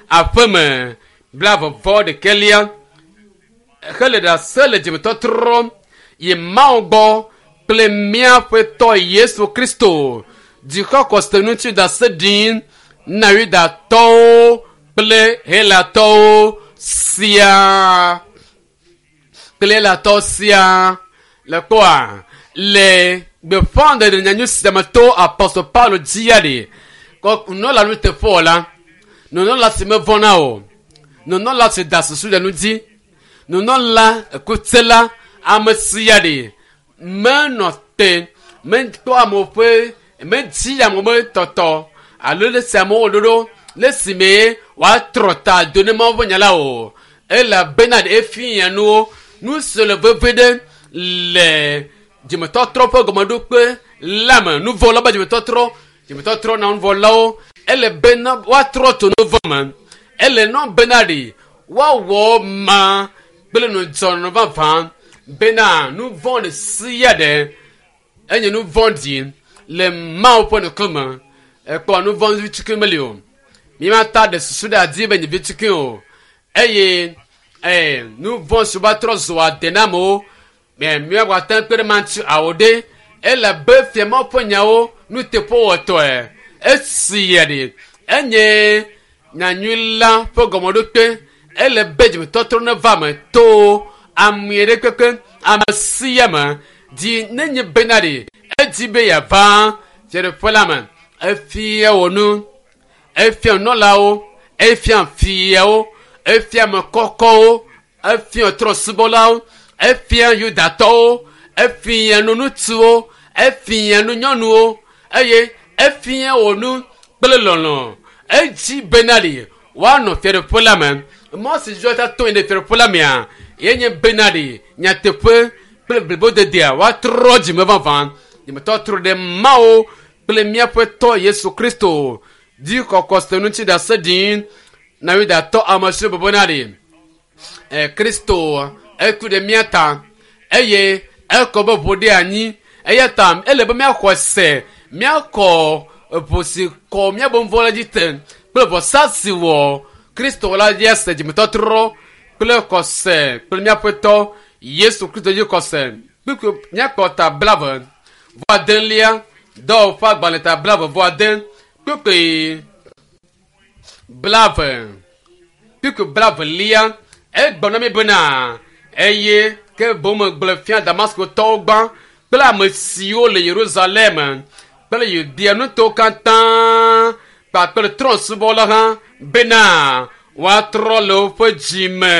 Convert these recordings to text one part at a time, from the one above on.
Aƒeme 21 hele ɖase le dzimetɔtrɔ yi Mawu gbɔ kple míaƒe tɔ Yesu Kristo dzixɔxɔse ŋuti ɖase ɖim na Yudatɔwo kple Helatɔwo siaa kple Helatɔwo siaa le kpɔa le gbeƒãɖeɖe nyanyui sia me to apɔstol Paulo dzia ɖi kɔ nunɔla nuteƒewɔla nunɔla si mevɔ̃na o nunɔla si da susu ɖe nu dzi nunɔla ekutsela ame sia ɖi menɔ te mekpɔ amewo ƒe medzi amewo ƒe tɔtɔ alo le si amewo wɔ ɖoɖo le si me woatrɔ ta do ne Mawu ƒe nya la o elabena ɖe efia nuwo nu si le veve ɖe le dzimetɔtrɔ ƒe gɔmeɖokpe la me nuvɔlawo ƒe dzimetɔtrɔ dzimetɔtrɔ na nuvɔlawo ele bena woatrɔ tso nuvɔ me ele nɔ bena ɖi woawɔ ma kple nudzɔnɔ vavã bena nuvɔ ɖe sia ɖe enye nuvɔ ɖi le Mawu ƒe ŋkume ekpɔ nuvɔ vitukui meli o mímata ɖe susu ɖe adi be nye vitukui o eye ee nuvɔ si va trɔ zu ade na amewo mɛ míagbate ŋu kpe ɖe ma ŋuti awo ɖe ele be fia Mawu ƒe nyawo nuteƒewɔtɔe esi ya ɖi enye nyanyui la ƒe gɔmeɖokpe ele be dzimetɔtrɔ neva me to ame ɖe kpekpe ame sia ame dzi nenye bena ɖi edzi be yeava fiaɖuƒe la me efia wò nu efia nunɔlawo efia fiawo efia ame kɔkɔwo efia trɔsubɔlawo efia yudatɔwo efia nu ŋutsuwo efia nu nyɔnuwo eye efia wò nu kple lɔlɔ edzi bena ɖi woanɔ fiaɖuƒe la me mɔ si dzi woata to ɖe fiaɖuƒe la mea yenye bena ɖi nyateƒe kple blibodedea woatrɔ dzime vavã dzimetɔtrɔ ɖe Mawu kple míaƒe tɔ Yesu Kristo dzi kɔkɔ se ŋuti ɖase ɖim na Yudatɔ ame siwo bɔbɔna ɖi e Kristo eku ɖe mía ta eye ekɔ be ʋu ɖe anyi eya ta ele be míaxɔ se míakɔ ʋu si kɔ míaƒe nu vɔ̃ la dzi te kple vɔsa si wɔ Kristo la dzi ase dzimetɔtrɔ kple xɔse kple míaƒe tɔ Yesu Kristo dzi xɔse kpukpui míakpɔ ta 29 dɔwɔƒe agbalẽ ta 20 kpukpui 20 kpukpui 20 egblɔ na mi bena eye ke boŋ megblɔ fia Damaskotɔwo gbã kple ame siwo le Yerusalem kple Yudea nutowo katã kpakple trɔ̃subɔla hã bena woatrɔ le woƒe dzime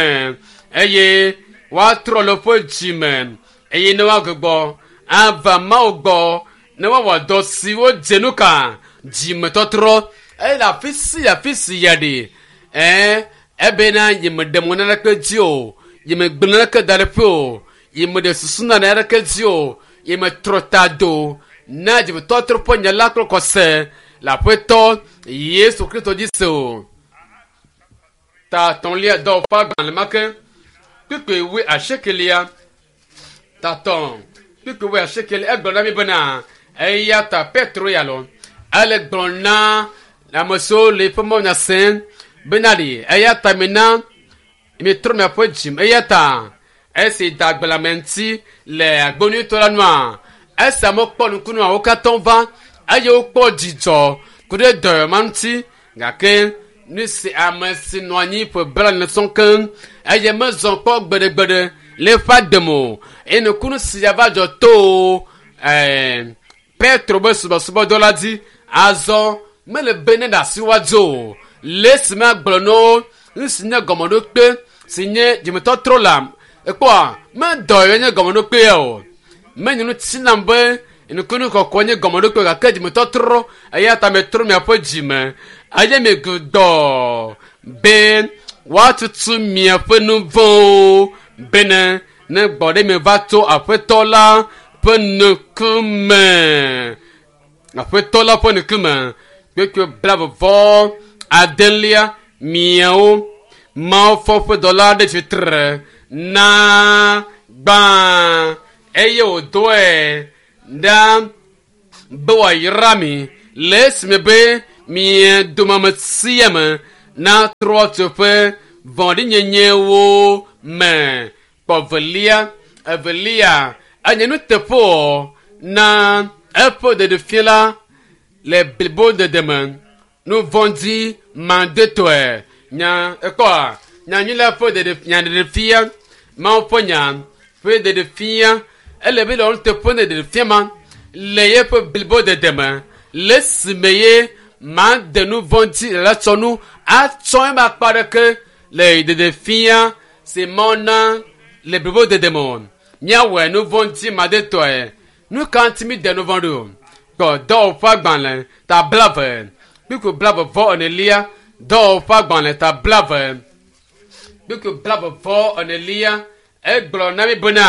eye woatrɔ le woƒe dzime eye ne woagbugbɔ ava Mawu gbɔ ne woawɔ dɔ siwo dze nu ka dzimetɔtrɔ eye le afi sia afi si ya ɖi ɛɛ ebena nyemeɖe mɔ naneke dzi o nyemegblẽ naneke da ɖe ƒe o nyemeɖe susu na naneke dzi o nyemetrɔ ta do na dzimetɔtrɔ ƒe nya la kple xɔse le aƒetɔ Yesu Kristo dzi se o. Ta etɔ̃lia dɔwɔƒe agbalẽ ma ke kpukpui 80 ta 3 kpukpui 80 egblɔ na mi bena eya ta Petro ya lɔ ele gblɔ na ame siwo le eƒe mawunya sem bena ɖi eya ta mina mitrɔ miaƒe dzim eya ta esi da gbe le ame ŋuti le agbonyuitɔ la nua esi amewo kpɔ nukunua wo katã va eye wokpɔ dzidzɔ ku ɖe dɔyɔ ma ŋuti gake nu si ame si nɔ anyi ƒe 40 sɔŋ keŋ eye mezɔ kpɔ gbeɖegbeɖe le eƒe agbe me o eye nukunu sia va dzɔ to ɛɛ Petro be subɔsubɔdɔ la dzi azɔ mele be ne ɖe asi woadzo o le esi magblɔ na wo nu si nye gɔmeɖokpe si nye dzimetɔtrɔ la ekpɔa medɔ ye nye gɔmeɖokpe ya o menye nu tsi nam be nukunu kɔkɔ nye gɔmeɖokpe gake dzimetɔtrɔ eya ta metrɔ miaƒe dzime eye migudɔ be woatutu miaƒe nu vɔ̃wo bene ne gbɔ ɖe mi va tso aƒetɔ la ƒe ŋkume aƒetɔ la ƒe ŋkume kpekpe 29 miawo Mawu fɔ ƒe dɔla ɖe tsitre na gbã eye wòdɔe ɖa be wòayra mi le esime be mia dome ame sia ame Natrɔ tso ƒe vɔ̃ɖinyenyewo me. Kpɔ velia, evelia, enye nuteƒewɔ na eƒe ɖeɖefia la le blibodede me. Nu vɔ̃ɖi madetɔe. Nya ekpɔa nyanyui la ƒe ɖeɖe nya ɖeɖefia Mawu ƒe nya ƒe ɖeɖefia ele be le nuteƒe ne ɖeɖefia ma le yeƒe blibodede me le esime ye made nu vɔ̃ɖi le la tsɔ nu atsɔ ema akpa ɖeke le ɖeɖefia si Mawu na le blibodede me o. Míawɔe nu vɔ̃ɖi madetɔe. Nu ka ŋuti mi de nu vɔ̃ ɖo? Kpɔ dɔwɔƒe agbalẽ ta 20 kpukpui 24. Dɔwɔƒe agbalẽ ta 20 kpukpui 24 egblɔ na mi bena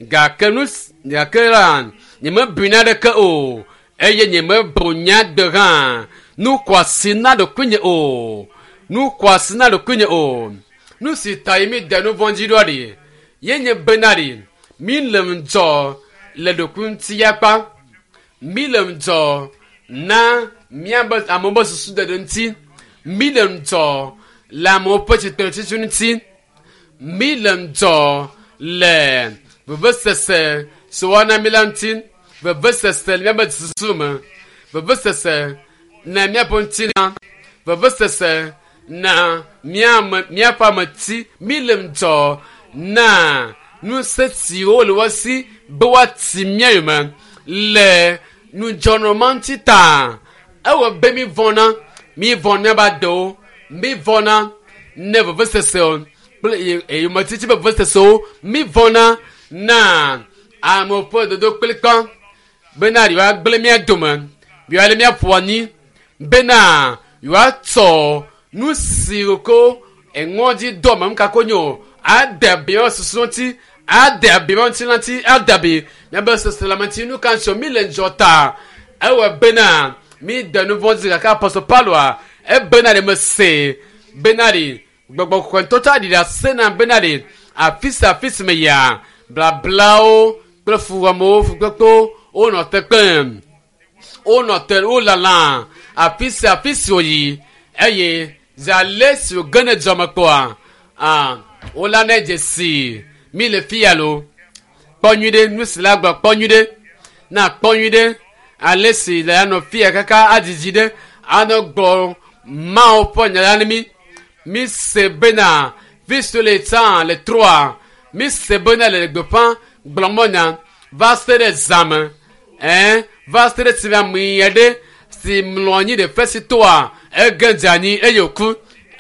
gake nu gake la nyemebui naneke o eye nyemebu nya gbe hã nu xɔasi na ɖokuinye o. Nu xɔasi na ɖokuinye o. Nu si ta yi mi de nu vɔ̃ dzi ɖoa ɖi ye nye bena ɖi mi le ŋudzɔ le ɖokuiŋuti yakpa. Mi le ŋudzɔ na míabe amewo ƒe susu ɖeɖe ŋuti. Mi le ŋudzɔ le amewo ƒe tsitretsitsi ŋuti. Mi le ŋudzɔ le vevesese si woana mi la ŋuti. Vevesese le míaƒe susu me. Vevesese na míaƒe ŋutilã. Vevesese na míame míaƒe ameti. Mi le ŋudzɔ na ŋusẽ siwo le wo si be woati mía yome le nudzɔnɔma ŋuti ta. Ewɔ be mi vɔ̃na, mi vɔ̃ míaƒe adewo, mi vɔ̃na ne vevesesewo kple eyometiti ƒe vevesesewo, mi vɔ̃na na amewo ƒe dodo kplikpa bena yewoagblẽ mía dome, yewoalé mía ƒu anyi bena yewoatsɔ nu si ko eŋɔdzi do ame ŋu kako nye o ade abi míaƒe susu ŋuti, ade abi míaƒe ŋutilã ŋuti, ade abi míaƒe seselãme ŋuti. Nu ka ŋuti mi le ŋudzɔ ta? Ewɔ bena mi de nu vɔ̃ dzi gake Apostol Pauloa ebena ɖe mese bena ɖi gbɔgbɔ kɔkɔe tsa ɖi ɖase na bena ɖi afi sia afi si me yia blablawo kple fuwɔamewo fukpekpewo wonɔ te kpem wonɔ te wolala afi sia afi si wòyi eye zi ale si wòge ne dzɔme kpɔa ah wola ne dzesi mi le fi ya lo kpɔ nyui ɖe nu si la gblɔ kpɔ nyui ɖe na kpɔ nyui ɖe ale si le anɔ fi ya kaka adzidzi ɖe anɔ gblɔ Mawu ƒe nya la ne mi mi se bena fi si le tsã le troa mi se bena le gbeƒã gblɔmɔ nya va se ɖe zãme ɛn va se ɖe esime ame aɖe si mlɔ anyi ɖe fesi toa ege dze anyi eye wòku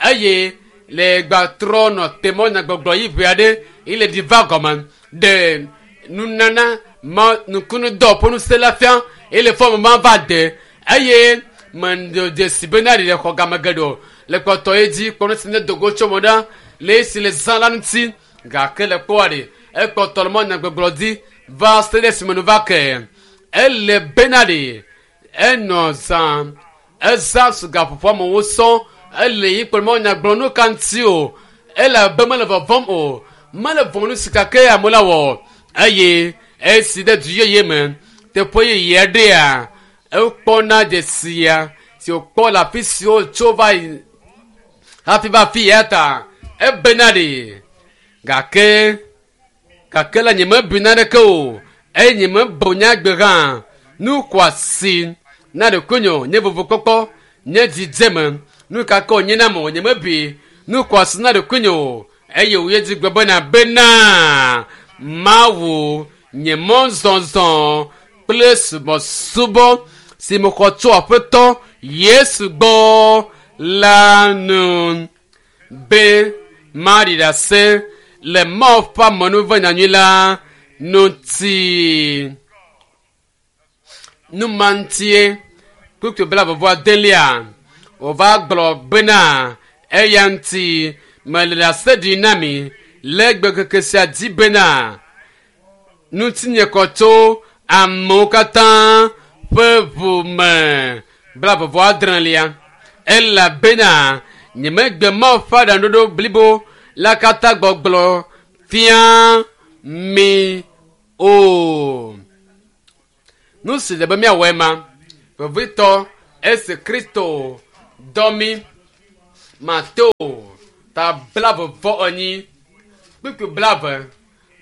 eye le gbatrɔ nɔ te mɔ nyagbɔgblɔ yi ʋe aɖe yi le ɖi va gɔme ɖe nunana ma nukunudɔ ƒe ŋusẽ la fia eye le fɔm ma va de eye me dzesi bena ɖi le xɔ game geɖe o le kpɔtɔ ye dzi kpɔ nu si ne dogo tso mo ɖa le esi le zã la ŋuti gake le kpɔa ɖi ekpɔtɔ le mɔ nyagbɔgblɔ dzi va se ɖe esime nu va ke ele bena ɖi enɔ zã ezã su gaƒoƒo amewo sɔ ele yi kplɔ mɔ nyagblɔ nu ka ŋuti o ele abe mele vɔvɔm o mele vɔ̃ nu si gake amewo la wɔ eye esi ɖe du yeye me teƒe yeye aɖea ekpɔna dzesia si wòkpɔ le afi siwo tso va yi hafi va afi ya ta ebena ɖi gake gake la nyemebui naneke o eye nyemebu nyagbe hã nu xɔasi na ɖokuinye nye vovokpɔkpɔ nye dzidzeme nu ka ke wònye nam o nyemebui nu xɔasi na ɖokuinye o eye wòye dzi gblɔ bena bena Mawu nye mɔzɔzɔ kple subɔsubɔ si mexɔ tso Aƒetɔ Yesu gbɔ la nu be maɖi ɖase le Mawu ƒe amenuveve nyanyui la ŋuti. Nu ma ŋutie kpukpui 28 wòva gblɔ bena eya ŋuti mele ɖase ɖi na mi le gbekeke sia dzi bena ŋutinye kɔ tso amewo katã ƒe ʋu me 86 elabena nyemegbe Mawu ƒe aɖaŋuɖoɖo blibo la katã gbɔgblɔ fia mi o. Nu si le be míawɔe ma vevitɔ esi Kristo dɔ mi Mateo ta 42 kpukpui 20.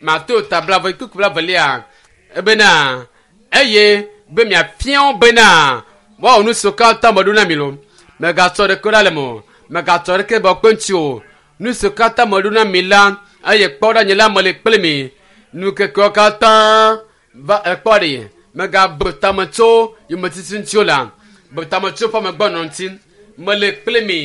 Mateo ta 20 kpukpui 20lia ebena eye be miafia wo bena woawɔ nu siwo katã meɖo na mi lo. Megatsɔ ɖeke ɖa le me o. Megatsɔ ɖeke be kpe ŋuti o. Nu siwo katã meɖo na mi la, eye kpɔ ɖa nye la mele kpli mi. Nukekewo katã va ekpɔ ɖi. Megabu tame tso yometiti ŋuti o la. Bu tame tso ƒe amegbɔnɔ ŋuti. Mele kpli mi.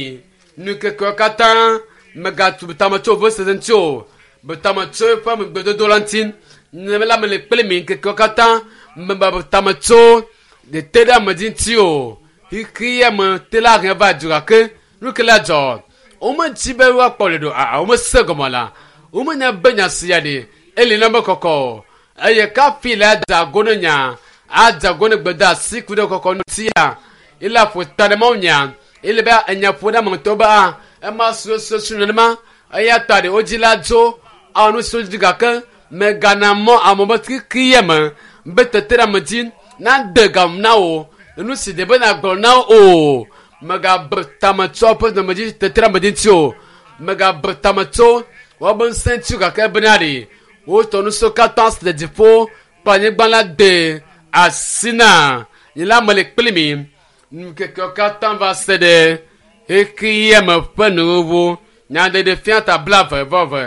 Nukekewo katã megatu tame tso vevesese ŋuti o. Bu tame tso eƒe amegbedodo la ŋuti. Nye la mele kpli mi ŋkekewo katã. Megabu tame tso teteɖeamedzi ŋuti o. Xexea me te la he va du gake nu ke la dzɔ. Womedzi be woakpɔ ɖeɖe o. Aa womese gɔme la. Womenya be nya sia ɖe eli na be kɔkɔ o. Eye kafi la dze ago ne nya adze ago ne gbedeasi ku ɖe kɔkɔ ŋutia. Ele aƒo ta ɖe Mawu nya. Ele be enya ƒo ɖe ame ŋutɔ be a ema suesuesu nenema. Eya ta ɖe wodzi la dzo awɔ nu siwo dzi gake megana mɔ ame be xexea me be teteɖeamedzi nade gam na wò. Nu si ɖe be nagblɔ na wo o. Megabu tame tso woƒe dɔmedzi teteɖeamedzi ŋuti o. Megabu tame tso woabe ŋusẽ ŋuti o gake bena ɖe wotɔ nu siwo katã si le dziƒo kple anyigba la de asi na nye la mele kpli mi. Nukekewo katã va se ɖe xexea me ƒe nuwuwu. Nyaɖeɖefia ta 20 vɔ eve.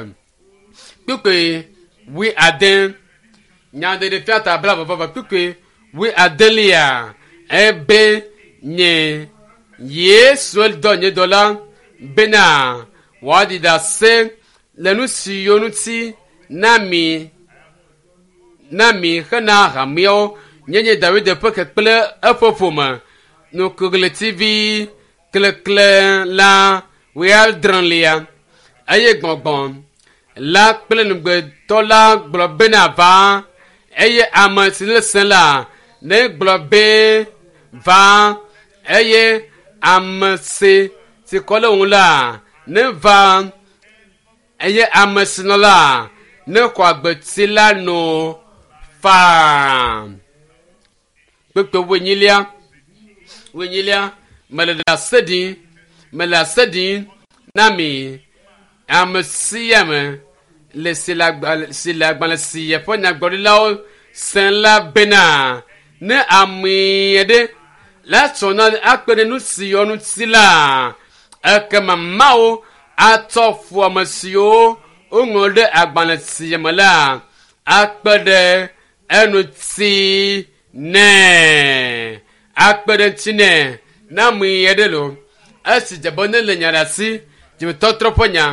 Kpukpui 80. Nyaɖeɖefia ta 20 vɔ eve kpukpui 80lia ebe nye Yesu dɔ nye dɔla bena wòaɖi ɖase le nu siwo ŋuti na mi na mi hena hameawo nye nye David ƒe ke kple eƒe ƒome nukuɣletivi klekle la 70lia eye gbɔgbɔ la kple nugbetɔ la gblɔ bena va eye ame si le se la ne gblɔ be va eye ame si si kɔ le ŋu la ne va eye ame si nɔ la ne xɔ agbeti la no faa. Kpukpui 40 mele ɖase ɖim mele ɖase ɖim na mi ame sia ame le si le agbalẽ si le agbalẽ si eƒe nyagblɔɖilawo sẽ la bena ne ame aɖe la tsɔ na akpe ɖe nu si yɔ ŋuti la ekema Mawu atsɔ fu ame siwo woŋlɔ ɖe agbalẽ sia me la akpe ɖe eŋuti nɛ akpe ɖe ŋuti nɛ ne ame aɖe lo esi dze be ne le nya ɖe asi dzimetɔtrɔ ƒe nya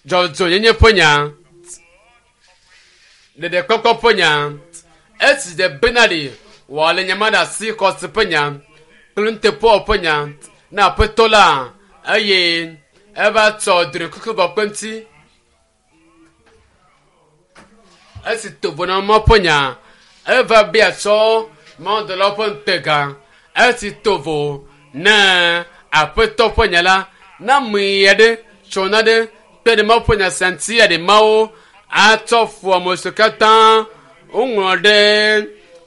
dzɔdzɔnyenye ƒe nya ɖeɖekpɔkpɔ ƒe nya esi dze bena ɖi wòale nya ma ɖe asi xɔse ƒe nya kple nuteƒewɔwɔ ƒe nya na aƒetɔ la eye eva tsɔ drɔ̃ekuku bɔ kpe ŋuti esi tovo na Mawu ƒe nya eva bia tsɔ mawudɔlawo ƒe ŋutega esi tovo na aƒetɔ ƒe nya la na ame aɖe tsɔ na ɖe kpe ɖe Mawu ƒe nya sia ŋuti aɖe Mawu atsɔ fu ame siwo katã woŋlɔ ɖe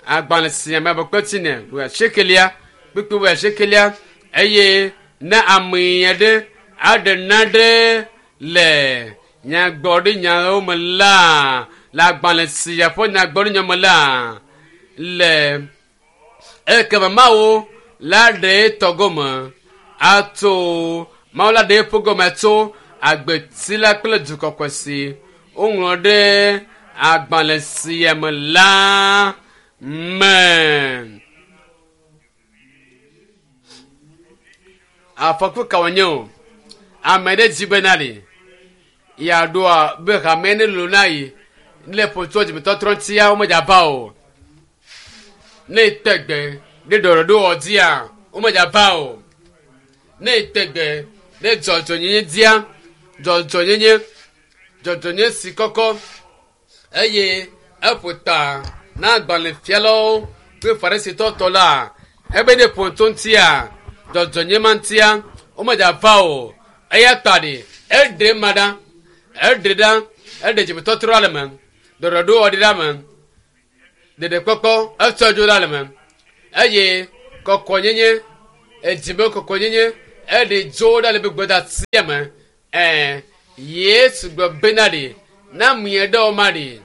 agbalẽ sia me abe kpetsi ne 80lia kpukpui 80lia eye ne ame aɖe aɖe naɖe le nyagblɔɖinyawo me la le agbalẽ sia ƒe nyagblɔɖinya me la le ekema Mawu la ɖe etɔ gome atso Mawu la ɖe eƒe gome atso agbeti la kple du kɔkɔe si woŋlɔ ɖe agbalẽ sia me la me. Afɔku ka wònye o? Ame ɖe dzi bena ɖe yeaɖoa be hame ne lolo na yi ne ƒo tso dzimetɔtrɔ ŋutia womedzava o. Ne ete gbe ɖe ɖɔɖɔɖowɔ dzia womedzava o. Ne ete gbe ɖe dzɔdzɔnyenye dzia dzɔdzɔnyenye dzɔdzɔnyenye si kɔkɔ eye eƒo ta na agbalẽfialawo kple farisitɔ tɔ la ebe ne ƒo tso ŋutia dzɔdzɔnyenye ma ŋutia womedzava o. Eya ta ɖe eɖe ma ɖa eɖe ɖa eɖe dzimetɔtrɔ le me ɖɔɖɔɖowɔ ɖi ɖa me ɖeɖekpɔkpɔ etsɔ dzo ɖa le me eye kɔkɔnyenye edzime kɔkɔnyenye Eɖe dzo ɖa le be gbedasia me. Ɛ Yesu gblɔ bena ɖe na mie ɖe wo ma ɖe.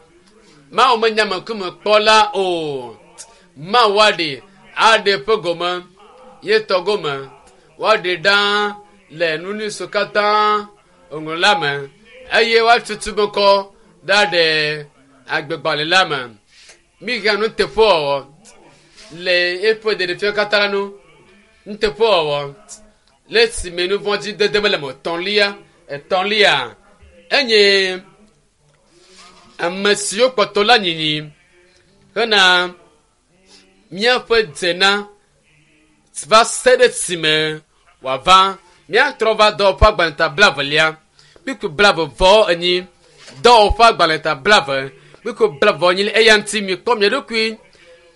Mawu menya ame ŋkume kpɔla o. Mawu aɖe aɖe ƒe gome ye tɔ gome. Woaɖe ɖa le nuniso katã ŋlɔ la me eye woatutu me kɔ ɖa ɖe agbegbalẽ la me. Mihiã nuteƒewɔwɔ le eƒe ɖeɖefia katã la nu. Nuteƒewɔwɔ le esime nu vɔ̃ dzi dede mele me o. Etɔ̃lia, etɔ̃lia enye ame siwo kpɔtɔ la nyinyi hena míaƒe dzena va se ɖe esime wòava. Míatrɔ va dɔwɔƒe agbalẽ ta blaevelia, kpukpui blaeve vɔ enyi. Dɔwɔƒe agbalẽ ta blaeve, kpukpui blaeve vɔ enyi. Eya ŋuti mikpɔ mia ɖokui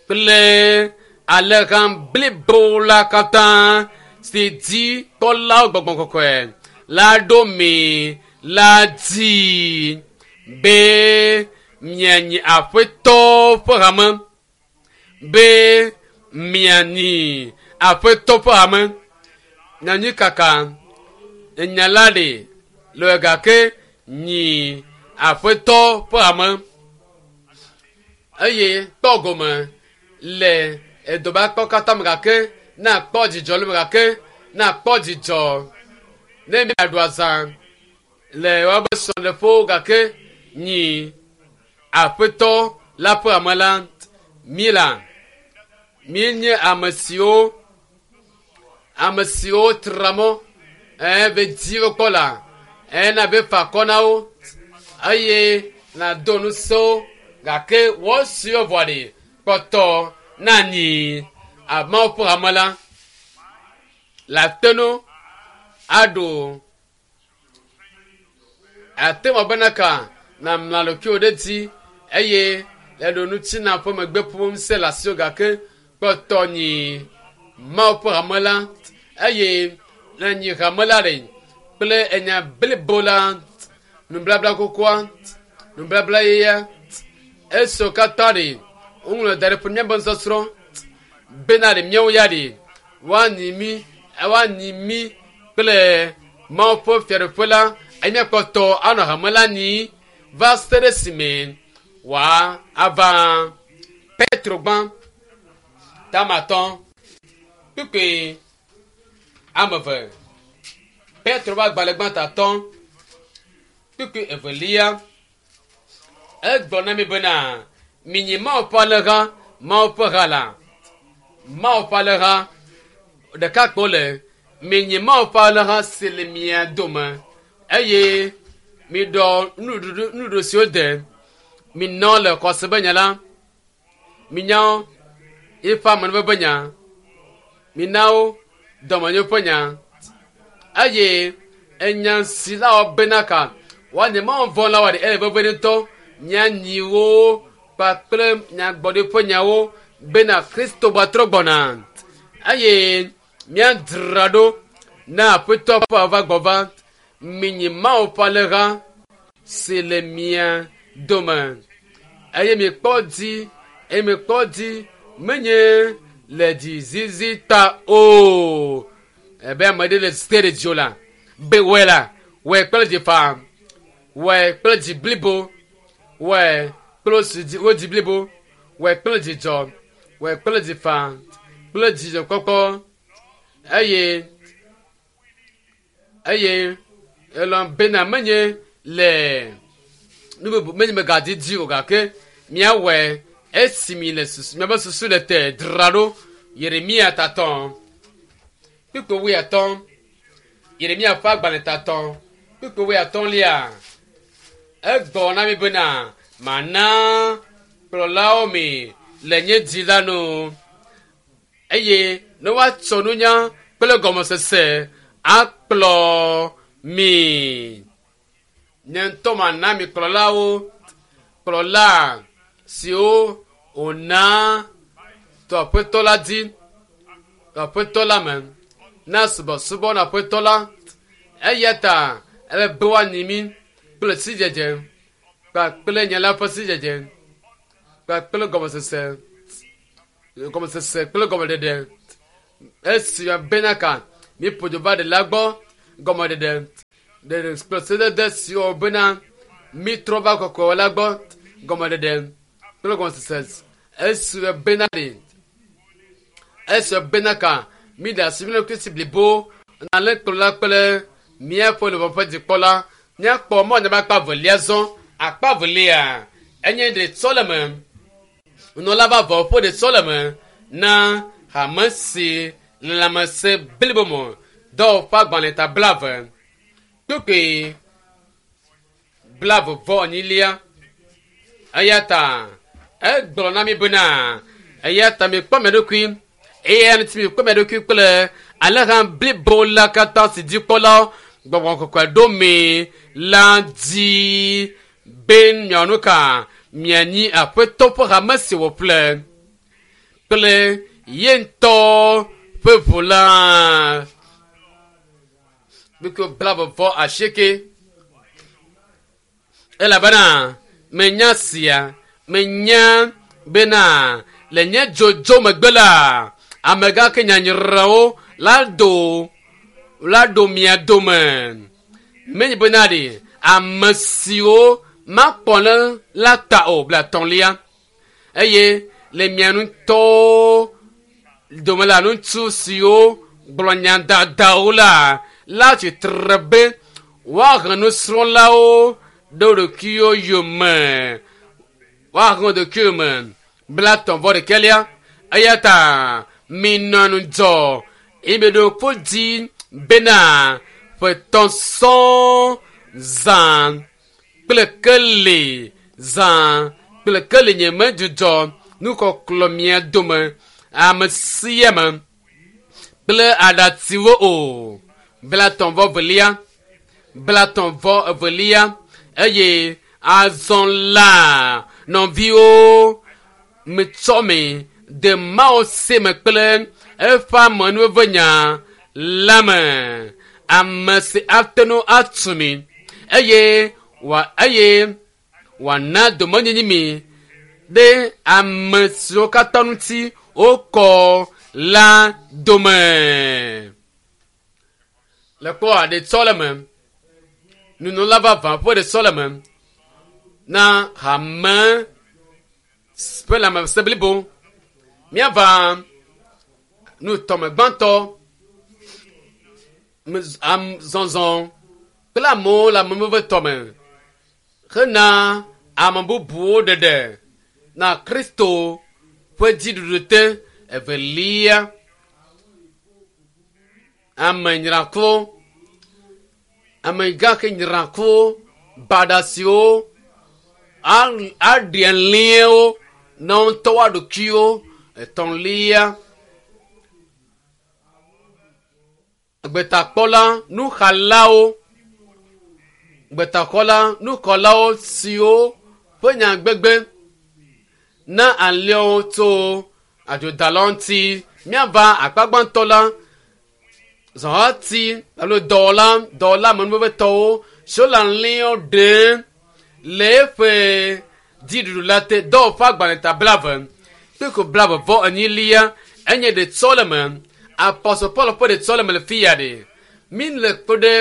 kple alẽha blibo la katã si dzi kpɔlawo gbɔgbɔ kɔkɔe la ɖo mi la dzi be mianyi aƒetɔ ƒe hame be mianyi aƒetɔ ƒe hame nyanyi kaka enya la ɖe le gake nyi aƒetɔ ƒe hame eye kpɔ gome le edɔbakpɔ katã me gake na kpɔ dzidzɔ le me gake na kpɔ dzidzɔ ne miaɖu azã le woabe srɔ̃ɖeƒewo gake nyi aƒetɔ la ƒe ame la mi la míenye ame siwo ame siwo tra mɔ ɛɛ be dzi wo kpɔ la ɛɛ na be fa akɔ na wo eye na do ŋusẽ wo gake wɔ siwo vɔ ɖi kpɔtɔ na nyi amewo ƒe hame la le ate nu aɖu ate ŋu bena ka na mla ɖokuiwò ɖe dzi eye le ɖo ŋuti na ƒe megbe ƒom se le asiwò gake kpɔtɔ nyi Mawu ƒe hame la eye le nyi hame la ɖe kple enya blibo la nublabla xoxoa nublabla yeyea esiwo katã ɖe woŋlɔ da ɖe ƒe míaƒe nusɔsrɔ̃ bena ɖe míawo ya ɖe woanyi mí woanyi mí kple Mawu ƒe fiaɖuƒe la eye míakpɔtɔ anɔ hame la nyi va se ɖe esime wòava. Petro gbã tamatɔ kpukpui ame eve. Petro ƒe agbalẽ gbãtatɔ kpukpui evelia. Egblɔ na mi bena minyi Mawu ƒe alẽha, Mawu ƒe ha la. Mawu ƒe alẽha ɖeka kpo le minyi Mawu ƒe alẽha si le mia dome eye miɖɔ nuɖuɖu nuɖuɖu siwo de minɔ le xɔse be nya la minya eƒe amenuveve nya mina wo dɔmenyo ƒe nya eye enya si la wɔ bena ka woanye Mawu vɔ̃lawo aɖe ele vevie ŋutɔ mianyi wo kpakple nyagbɔɖi ƒe nyawo bena Kristo gbatrɔ gbɔna eye míadzra ɖo na aƒetɔ ƒe ava gbɔva minyi Mawu ƒe alẽha si le mia dome eye mikpɔ dzi eye mikpɔ dzi menye le dzizizi ta o ebe ame ɖe le ste ɖe dziwò la be wɔe la wɔe kple dzi faa wɔe kple dzi blibo wɔe kple wo dzi blibo wɔe kple dzidzɔ wɔe kple dzi faa kple dzidzɔkpɔkpɔ eye eye elɔ̃ bena menye le nu bubu menye megadidi o gake míawɔe esi mi le susu miaƒe susu le te dzra ɖo Yeremia tatɔ kpukpui wuiatɔ̃ Yeremia ƒe agbalẽ tatɔ kpukpui wuiatɔ̃lia egblɔ na mi bena mana kplɔlawo mi le nye dzi la nu eye ne woatsɔ nunya kple gɔmesese akplɔ mi. Nye ŋutɔ mana mi kplɔlawo, kplɔla siwo wòna to aƒetɔ la dzi, to aƒetɔ la me, na subɔsubɔ na aƒetɔ la. Eya ta ele be woanyi mí kple sidzedze kpakple nye la ƒe sidzedze kpakple gɔmesese, gɔmesese kple gɔmeɖeɖe. Esi bena ka Míeƒo dzo va ɖela gbɔ gɔmeɖeɖe ɖeɖe kple sedede siwo bena mítrɔ va kɔkɔe la gbɔ gɔmeɖeɖe kple gɔmesese esi bena ɖe esi bena ka míɖe asi mía ɖokui si blibo na alẽkplɔla kple míaƒe luʋɔ ƒe dzikpɔla. Míakpɔ mɔ ne akpa velia zɔ. Akpa velia enye ɖetsɔleme. Nunɔla vavãwo ƒe ɖetsɔleme na hame si le lãmesẽ blibo me. Dɔwɔƒe agbalẽ ta blave kpukpui blave vɔ enyilia. Eya ta egblɔ na mi bena eya ta mikpɔ mia ɖokui eye ŋuti mikpɔ mia ɖokui kple alẽha blibo la katã si dzikpɔlawo gbɔgbɔ kɔkɔe ɖo mi la dzi be miawɔ nu ka mianyi aƒetɔ ƒe hame si wòƒle kple ye ŋutɔ ƒe ʋu la. Kpukpui blave vɔ asieke. Elabena menya sia, menya bena le nye dzodzo megbe la, amegã ke nyanyrawo la do la ɖo mia dome. Menye bena ɖe ame siwo makpɔ le la ta o blatɔ̃lia eye le mia ŋutɔwo dome la ŋutsu siwo gblɔ nya dadawo la la tsitre be woahe nusrɔ̃lawo ɖe wo ɖokuiwo yome woahe wo ɖokuiwo me blatɔ̃ vɔ ɖekɛlia eya ta minɔ ŋudzɔ eye miɖo ƒu dzi bena ƒetɔ̃ sɔŋ zã kple keli zã kple keli nye medzudzɔ nukɔklɔ mia dome ame sia ame kple aɖatsiwo o. Blatɔ̃ vɔ velia blatɔ̃ vɔ evelia eye azɔ la nɔviwo mitsɔ mi de Mawu si me kple eƒe amenuvevenya la me. Ame si ate ŋu atu mi eye wòa eye wòana domenyinyi mi ɖe ame siwo katã ŋuti wokɔ la dome. Le kpɔa ɖetsɔleme, nunɔla vavã ƒe ɖetsɔleme na hame ƒe lãmesẽ blibo. Míava nutɔme gbãtɔ zɔzɔ kple amewo le ameveve tɔme hena ame bubuwo ɖeɖe na Kristo ƒe dziɖuɖu te. Evelia, ame nyrakuwo, amegã ke nyrakuwo, baɖa siwo aɖi alẽwo na wo ŋutɔ woa ɖokuiwo. Etɔ̃lia, gbetakpɔla nuxalawo, gbetakpɔla nuxɔlawo siwo ƒe nyagbegbe na alẽwo tso adzodalawo ŋuti. Míava akpa gbãtɔ la, zɔhati alo dɔwɔla dɔwɔla amenuvevetɔwo siwo le alẽwo ɖem le eƒe dziɖuɖu la te. Dɔwɔƒe agbalẽ ta blave kpeko blave vɔ enyilia enye ɖetsɔleme. Apɔstol Paul ƒe ɖetsɔleme le fi ya ɖe. Mi le kpe ɖe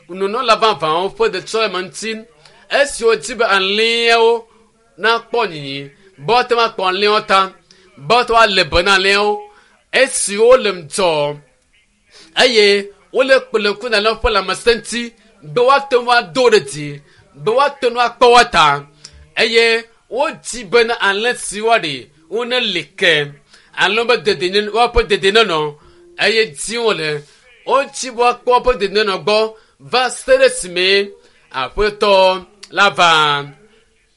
nunɔla vavãwo ƒe ɖetsɔleme ŋuti esiwo dzi be alẽawo nakpɔ nyinyi be woate ŋu akpɔ alẽawo ta be woate ŋu alé be na alẽawo esiwo le ŋudzɔ eye wole kple ŋku na alẽawo ƒe lãmesẽ ŋuti be woate ŋu ado ɖe dzi be woate ŋu akpɔ wo ta eye wodzi bena alẽ siwo ɖe woneli ke alẽ be dedie woaƒe dedienɔnɔ eye dim wole wodzi be woakpɔ woƒe dedienɔnɔ gbɔ va se ɖe esime aƒetɔ la va.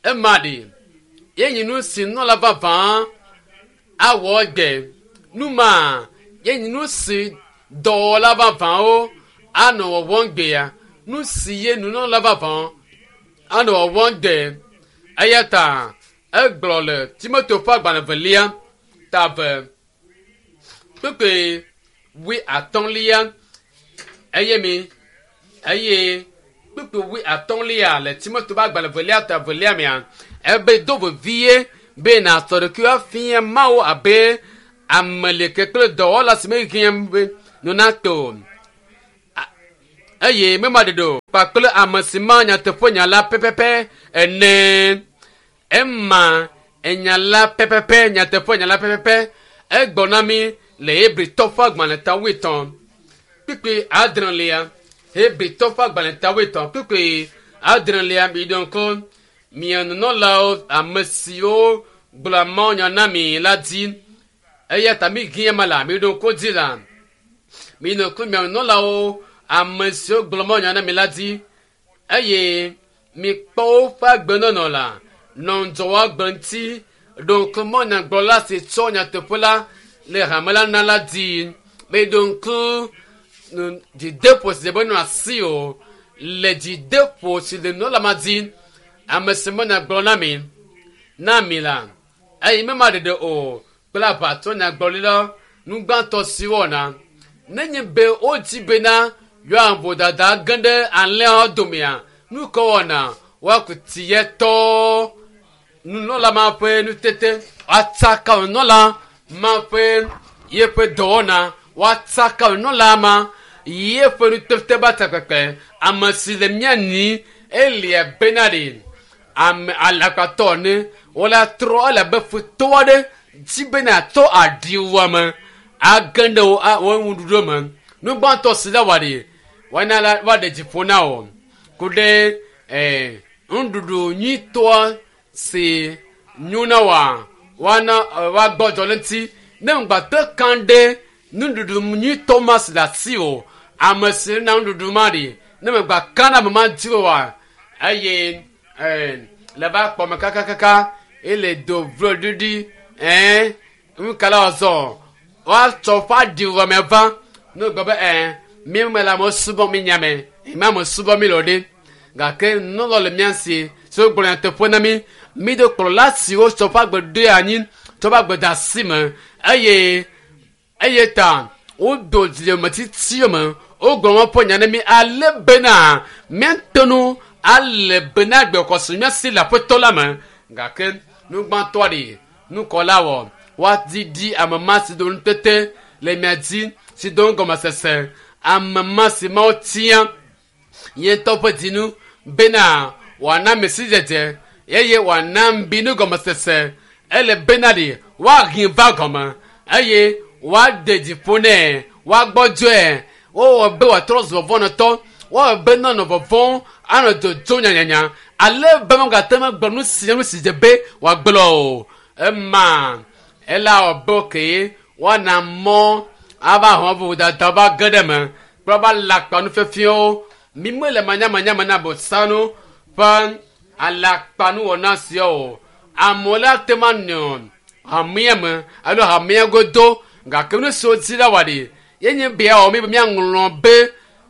Ema ɖi ye nyi nu si nunɔla vavã awɔ egbe. Nu ma ye nyi nu si dɔwɔla vavãwo anɔ wɔwɔm gbea. Nu si ye nunɔla vavã anɔ wɔwɔm gbe. Eya ta egblɔ le Timoteo ƒe agbalẽ velia ta eve kpukpui wui atɔ̃lia eye mi eye kpukpui wui atɔ̃lia le Timoteo ƒe agbalẽ velia ta velia mea ebe do vevie be nàsɔ ɖokuiwò afia Mawu abe ame leke kple dɔwɔla si mehiã be nu nato o. Eye mema ɖeɖe o kpakple ame si ma nyateƒe nya la pɛpɛpɛ ene. Ema enya la pɛpɛpɛ, nyateƒe nya la pɛpɛpɛ. Egblɔ na mí le Hebritɔ ƒe agbalẽ ta wuietɔ̃ kpukpui adrelia. Hebritɔ ƒe agbalẽ ta wuietɔ̃ kpukpui adrelia. Miɖo ŋku mia nunɔlawo, ame siwo gblɔa mawunya na mi la dzi. Eya ta mi hiã ma la, miɖo ŋku dzi la. Miɖo ŋku mia nunɔlawo, ame siwo gblɔ mawunya na mi la dzi. Eye mikpɔ woƒe agbenɔnɔ la, nɔ ŋudzɔ woagbe ŋuti. Ɖo ŋku mawunyagblɔla si tsɔ nyateƒe la le hame la na la dzi. Miɖo ŋku dzideƒo si be nɔ asi o le dzideƒo si le nunɔla ma dzi. Ame si mawunyagblɔ na mi na mi la, eye mema ɖeɖe o kple aʋatɔ nyagblɔɖila nugbãtɔ si wɔna. Nenye be wodzi bena yewoa vodada ge ɖe alẽawo domea, nu ka wɔna? Woaku tiyetɔ nunɔla ma ƒe nutete, woatsaka nunɔla ma ƒe yeƒe dɔwɔna, woatsaka nunɔla ma yeƒe nutete ba takpekpe. Ame si le mía nyi elia bena ɖe ame alakpatɔ ne wola trɔ ele abe futɔ aɖe dzi bena tɔ aɖi wɔme age ɖe wo wo nuɖuɖu me. Nu gbãtɔ si la wɔ ɖi woana la woaɖe dzi ƒo na wò ku ɖe nuɖuɖu nyuitɔa si nyo na woa woana woagbɔdzɔ le ŋuti. Ne ŋgbate kan ɖe nuɖuɖu nyuitɔ ma si le asi o, ame si na nuɖuɖu ma ɖi ne megba ka ɖe ame ma dzi oa, eye le va kpɔ me kakakaka ele do vlo ɖiɖi nu ka la wòazɔ woatsɔ ƒe aɖi wɔme va ne wogblɔ be mi me le amewo subɔm mi nya me eme ame subɔm mi le o ɖe gake nunɔla le mía si siwo gblɔ nyateƒe na mí. Mi do kplɔla siwo tsɔ ƒe agbe ɖoe anyi tsɔ ƒe agbe de asi me eye eye ta wodo dzilemetitiwo me wogblɔ woƒe nya na mí ale bena míate ŋu ale bena agbexɔse mía si le aƒetɔ la me. Gake nu gbãtɔa ɖi nukɔla wɔ woadidi ame ma si do nutete le mia dzi si do gɔmesese ame ma si mawo tia ye ŋutɔ ƒe dzinu bena wòana ame si dzedze eye wòana mbi nugɔmesese ele bena ɖi woahe va gɔme eye woade dzi ƒo nɛ woagbɔdzɔe wowɔ be wòatrɔ zu vɔvɔnɔtɔ woawɔ be nenɔ vɔvɔm anɔ dzodzom nyanyanya ale be megate ŋu agblɔ nu sia nu si dze be wòagblɔ o. Ema ela wɔ be ke woana mɔ ava hɔn vodada va ge ɖe eme kple woava alakpa nufiafiawo. Mi mele manyamanya na bosanu ƒe alakpanuwɔna siawo o. Amewo la te ma nɔ hamea me alo hamea godo gake nu siwo dzi la wɔ ɖi ye nye be awɔ mi be míaŋlɔ be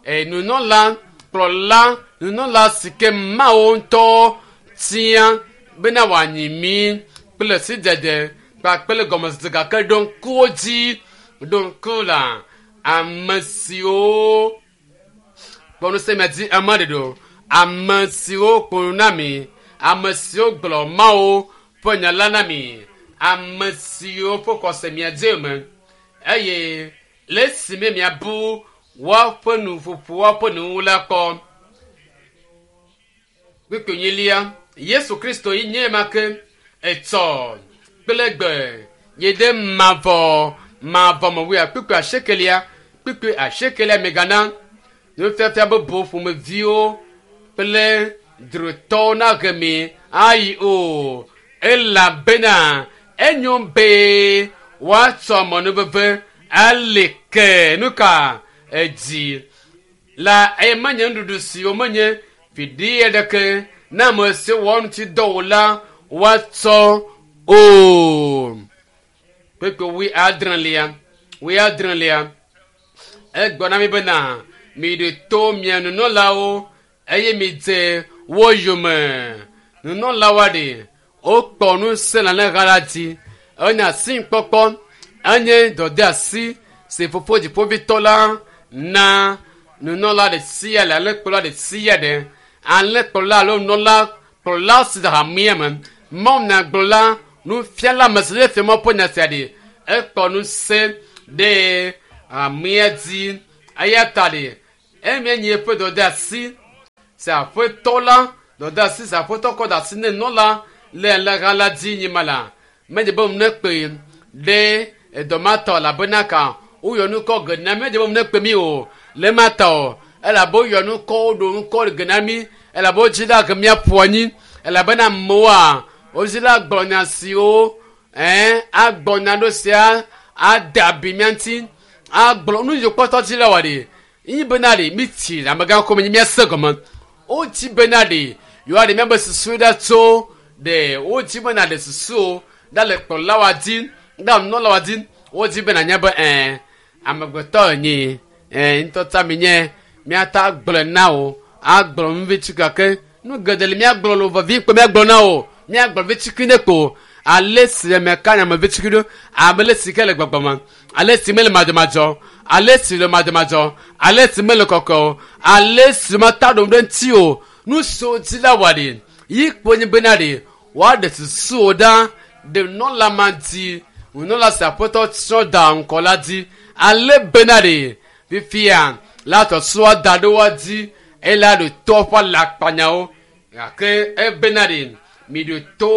nunɔla kplɔla nunɔla si ke Mawu ŋutɔ tia bena wòanyi mí kple sidzedze kpakple gɔmesese gake ɖo ŋkuwo dzi ɖo ŋku la ame siwo kpɔ ŋusẽ mia dzi ame ɖeɖe o. Ame siwo kpo nu na mi, ame siwo gblɔ Mawu ƒe nya la na mi, ame siwo ƒe xɔse mia dzi me eye le esime miabu woaƒe nuƒoƒo woaƒe nuwu la kpɔ. Kpukpui enyilia, Yesu Kristo yi nye ma ke etsɔ kple gbe yi ɖe mavɔ mavɔ me wuia. Kpukpui asiekelia, kpukpui asiekelia megana nufiafia bubu ƒomeviwo kple drotɔwo nahe mi ayi o elabena enyo be woatsɔ amenuveve ali ke nu ka edzi la eye menye nuɖuɖu siwo menye viɖe aɖeke na ame siwo wɔ ŋuti dɔ o la woatsɔ o. Kpukpui wuiadrelia, wuiadrelia egblɔ na mi bena miɖo to mia nunɔlawo eye midze wo yome. Nunɔlawoa ɖe wokpɔ ŋusẽ le alẽha la dzi. Enye asikpɔkpɔ, enye dɔdeasi si fofo dziƒovitɔ la na nunɔla ɖe sia ɖe, alẽkplɔla ɖe sia ɖe. Alẽkplɔla alo nunɔla kplɔla si le hamea me. Mawunyagblɔla, nufiala ame si le fia Mawu ƒe nya sia ɖe ekpɔ ŋusẽ ɖe hamea dzi. Eya ta ɖe Emie nye eƒe dɔdeasi si aƒetɔ la dɔdeasi si aƒetɔ kɔ da asi ne nɔla le alẽha la dzi nye ma la medze be ne kpe ɖe edɔ ma ta o elabena ka woyɔ nukɔ ge na mi medze be ne kpe mi o le ma ta o elabe woyɔ nukɔ woɖo nukɔ ge na mi elabe wodzi la ge míaƒo anyi elabena amewoa wodzi la gblɔ nya siwo ɛɛ agbɔ nya ɖo sia ade abi mía ŋuti agblɔ nu yi kpɔtɔ dzi la wɔ ɖi yi bena ɖi mi tsi amegã ko mi míase gɔme wodzi bena ɖi yewoa ɖe míabe susu ɖa tso ɖe wodzi bena ɖe susu ɖa le kplɔlawa dzi ɖa nunɔlawa dzi wodzi bena nya be ɛɛ amegbetɔ enyi ɛɛ ŋutɔ mi nye míata gblɔe na wo agblɔ nu vi tsi gake nu geɖe le míagblɔ lo vevi kpe míagblɔ na wo míagblɔ vi tsikui ne ko ale si ame ka nya me vi tsikui ɖo ame le si ke le gbɔgbɔ me ale si mele madzɔmadzɔ ale si le madzɔmadzɔ ale si mele kɔkɔ o ale si meta ɖom ɖe ŋuti o nu siwo dzi la wɔ ɖi yi kpo nye bena ɖi woaɖe susuwo ɖa ɖe nunɔla ma dzi nunɔla si aƒetɔ tsɔ da ŋkɔ la dzi ale bena ɖi fifia la tɔsua da ɖe woa dzi eye la ɖo to ƒe alakpanyawo gake ebena ɖi mi ɖo to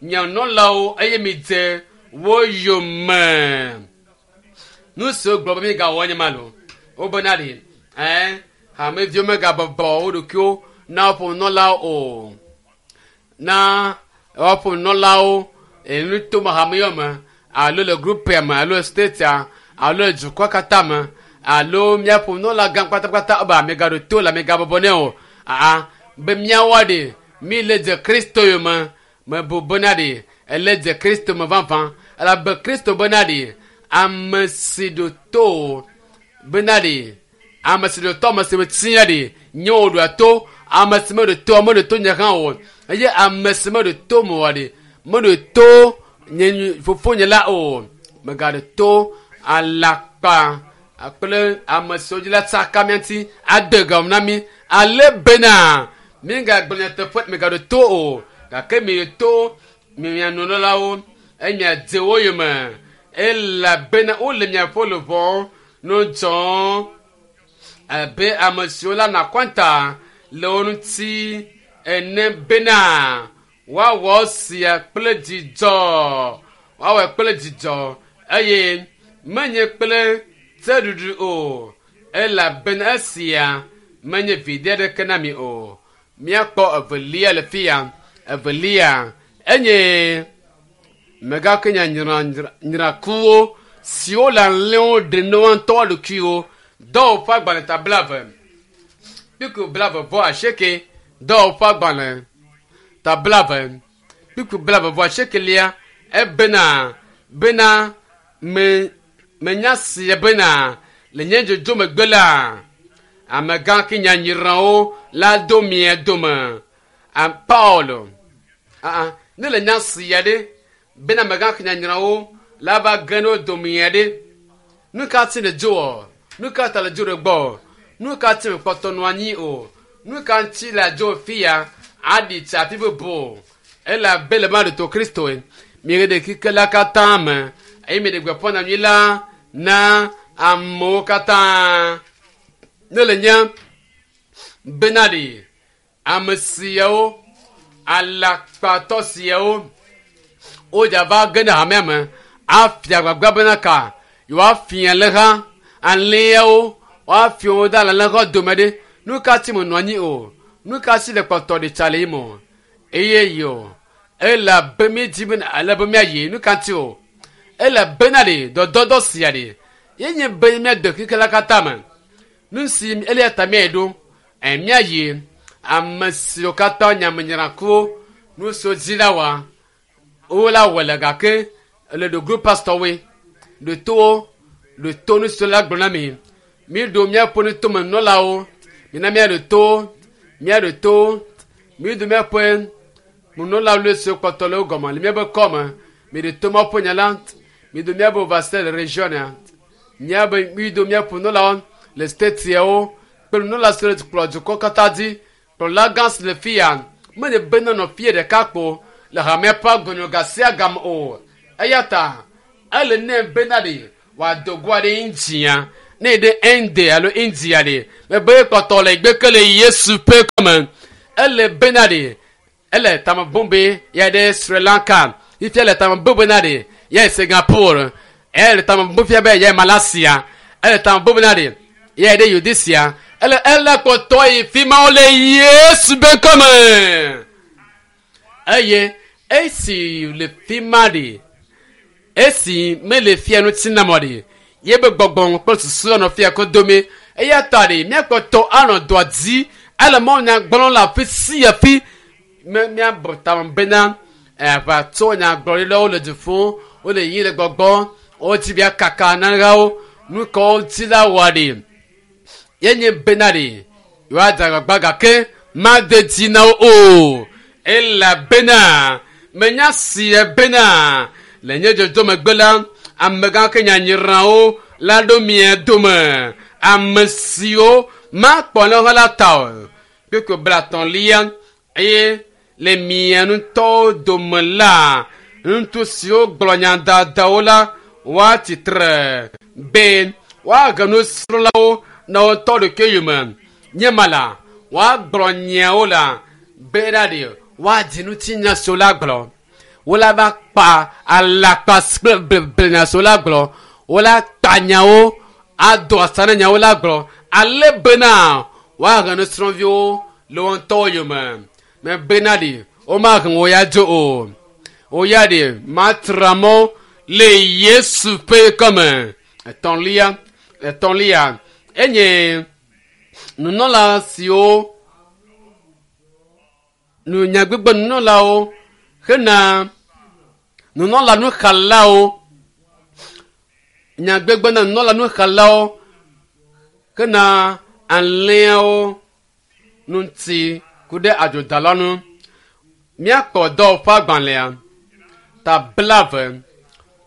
mia nunɔlawo eye mi dze wo yome nu siwo gblɔ be mi gawɔ nye ma lo wobena ɖi ɛɛ hameviwo megabɔbɔ wo ɖokuiwo na woƒe nunɔlawo o na woƒe nunɔlawo enutome hameyɔ me alo le grupia me alo le statea alo le dukɔ katã me alo míaƒe nunɔla gã kpatakpata ebe amegaɖo to le amegabɔbɔ nɛ o aa be míawoa ɖe mi le dze kristo yome mebu bena ɖe ele dze kristo me vavã elabe kristo bena ɖe ame si ɖo to bena ɖe ame si ɖo to ame si metia ɖe nye wò ɖoa to ame si meɖo to meɖo to nye hã o eye ame si meɖo to me oa ɖe meɖo to nye fofonye la o megaɖo to alakpa kple ame siwo dzi la tsaka mía ŋuti ade gɔme na mí ale bena mígagblɔ nyateƒe megaɖo to o gake miɖo to mia nunɔlawo eye miadze wo yome elabena wole miaƒe luʋɔ no dzɔm abe ame siwo la na kɔnta le wo ŋuti ene bena woawɔ sia kple dzidzɔ woawɔe kple dzidzɔ eye menye kple tseɖuɖu o elabena esia menye viɖe aɖeke na mi o míakpɔ evelia le fia evelia enye megake nya nyrakuwo siwo le alẽwo ɖe ne woa ŋutɔ ɖokuiwo dɔwɔƒe agbalẽ ta blave kpikpi blave vɔ asieke dɔwɔƒe agbalẽ ta blave kpikpi blave vɔ asiekelia ebena bena me menya sia bena le nye dzodzo megbe la amegã ke nyanyrawo la do mia dome a Paulo aa ne le nya sia ɖe bena amegã ke nyanyrawo la va ge ɖe wo dome ya ɖe nu ka ti le dzo wɔ nu ka ta le dzo ɖe gbɔ nu ka ti me kpɔtɔ nɔ anyi o nu ka ŋuti le dzo fia aɖi tsi afi bubu o elabe le ma ɖe to kristo mi ɖe kike la katã me eye mi ɖe gbeƒã nyanyui la na amewo katã ne le nye bena ɖe ame siawo alakpatɔ siawo wodza va ge ɖe hamea me afia gbagba bena ka yewoafia le ha alẽawo woafia wo da le alẽha dome ɖe nu ka ti menɔ anyi o nu ka si le kpɔtɔ ɖe tsa le yi me o eye yo elabe mi dzi bena ale be miayi nu ka ti o elabena ɖe dɔdɔdɔ sia ɖe ye nye be míade xexe la katã me nu si elia ta míayi ɖo ɛ míayi ame siwo katã nyamenyrakuwo nu siwo dzi la wa wo la wɔ le gake le ɖo group pastorwoe ɖo towo ɖo to nu siwo la gblɔ na mi mi ɖo míaƒe nutomenɔlawo mina míaɖo to míaɖo to mi ɖo míaƒe nunɔlawo le siwo kpɔtɔ le wo gɔme le míaƒe kɔme mi ɖo to mawo ƒe nya la mi ɖo míaƒe overseer le region míabe mi ɖo míaƒe nunɔlawo le stateawo kple nunɔla siwo le kplɔ dukɔ katã dzi kplɔla gã si le fia menye be nenɔ fie ɖeka kpo le hamea ƒe agbenɔ ga sia game o eya ta ele nɛ bena ɖe wòado go aɖe ŋutia Ne ɖe Inde alo India ɖe, mebe kpɔtɔ le gbeke le Yesu ƒe kɔme. Ele bena ɖe, ele tame bum be ya ɖe Sri Lanka. Fifia le tame bum bena ɖe, ya yi Singapore. Ele tame bum fia be ya yi Malaysia. Ele tame bum bena ɖe, ya yi ɖe Yudisia. Ele ele kpɔtɔ yi fi ma wole Yesu ƒe kɔme. Eye esi le fi ma ɖe, esi mele fia ŋuti nam o ɖe, ye be gbɔgbɔ kple susu anɔ fia ko dome. Eya ta ɖe míakpɔtɔ anɔ dɔa dzi ele mawunya gblɔm le afi sia fi. Me míabɔ tame bena aʋatso nyagblɔɖilawo le dziƒo, wole yiyim le gbɔgbɔ, wodzi be kaka nanewo, nu kawo dzi la wɔ ɖe. Ye nye bena ɖe yewoadze agbagba gake made dzi na wo o. Elabena menya sie bena le nye dzodzo megbe la, amegã ke nyanyrawo la ɖo mia dome. Ame siwo makpɔ ne wo la ta o. Kpukpui 30 eye le mia ŋutɔwo dome la, ŋutsu siwo gblɔ nya dadawo la woatsi tre be woahe nusrɔ̃lawo na wo ŋutɔ ɖokui yome. Nye ma la, woagblɔ nyawo la bena ɖe woadzi ŋutinya siwo la gblɔ. Wola va kpa alakpa kple bleblenya siwo la gblɔ. Wola kpa nyawo ado asa na nyawo la gblɔ. Ale bena woahe nusrɔ̃viwo le wo ŋutɔwo yome. Me bena ɖe womahe wo ya dzo o. Wo ya ɖe matra mɔ le Yesu ƒe kɔme. Etɔ̃lia enye nunɔla siwo nunyagbegbe nunɔlawo hena nunɔla nuxalawo nyagbegbe na nunɔla nuxalawo hena alẽawo ŋuti ku ɖe adzodala ŋu. Míakpɔ dɔwɔƒe agbalẽa ta 20